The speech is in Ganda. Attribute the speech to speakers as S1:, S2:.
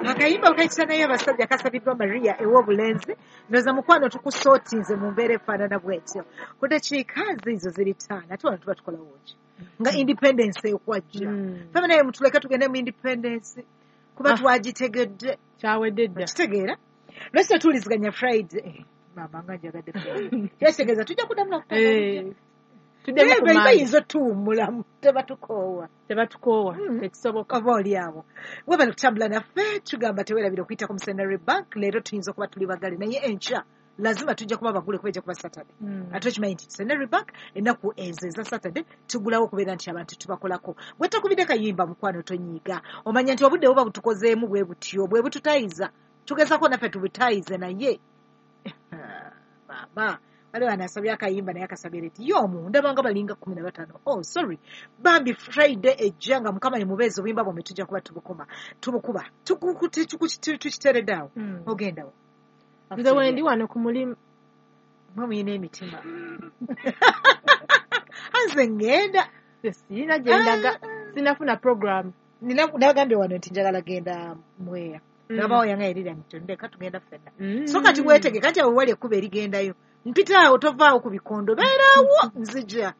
S1: Akayimba okayita naye abasajja kasabiddwa Maria ew'obulenzi. Ndowooza mukwano tukusootinze mu mbeera efaanana bwetyo. Ku dakiika ziizo ziri 5, ate wano tuba tukolawo ki nga independence ekwajja? Ffe naye mutuleke tugende mu independence kuba twagitegedde.
S2: Kyawedde dda.
S1: Kitegeera lwaki tetuwuliziganya Friday? Maama nga njagadde Friday. Kyekitegeeza tujja kuddamu nakutandika.
S2: Tuddemu ku maanyi.
S1: Bayinza otuwummulamu, tebatukoowa.
S2: Tebatukoowa, tekisoboka.
S1: Oba oli awo webale kutambula naffe. Tugamba tewerabira okuyita ku Centenary Bank. Leero tuyinza okuba tuli bagale, naye enkya lazima tujja kuba bagule kuba ejja kuba Saturday. Ate okimanyi nti Centenary Bank ennaku ezo eza Saturday tugulawo okubeera nti abantu tubakolako. Bwe takubidde kayimba, mukwano tonyiiga, omanya nti obudde buba butukozeemu bwe butyo bwe bututayiza, tugezako naffe tubutayize. Naye maama waliwo anasabye akayimba naye akasabye late y'omu ndaba nga balinga 15. Oh, sorry bambi. Friday ejja nga Mukama ye mubeezi, obuyimba bwomwe tujja kuba tubukuma, tubukuba, tukiteredde awo. Ogendawo?
S2: Nze wendi wano ku mulimu.
S1: Mwe muyina emitima, anze ŋŋenda.
S2: Sirina gyendaga, sinafuna program.
S1: Nagambye wano nti njagala genda Mweya. Nabawo yanga erira nti ndeka tugenda ffenna. So kati weetege, kati awo wali ekkubo erigendayo, mpita awo, tovaawo ku bikondo, beeraawo, nzija.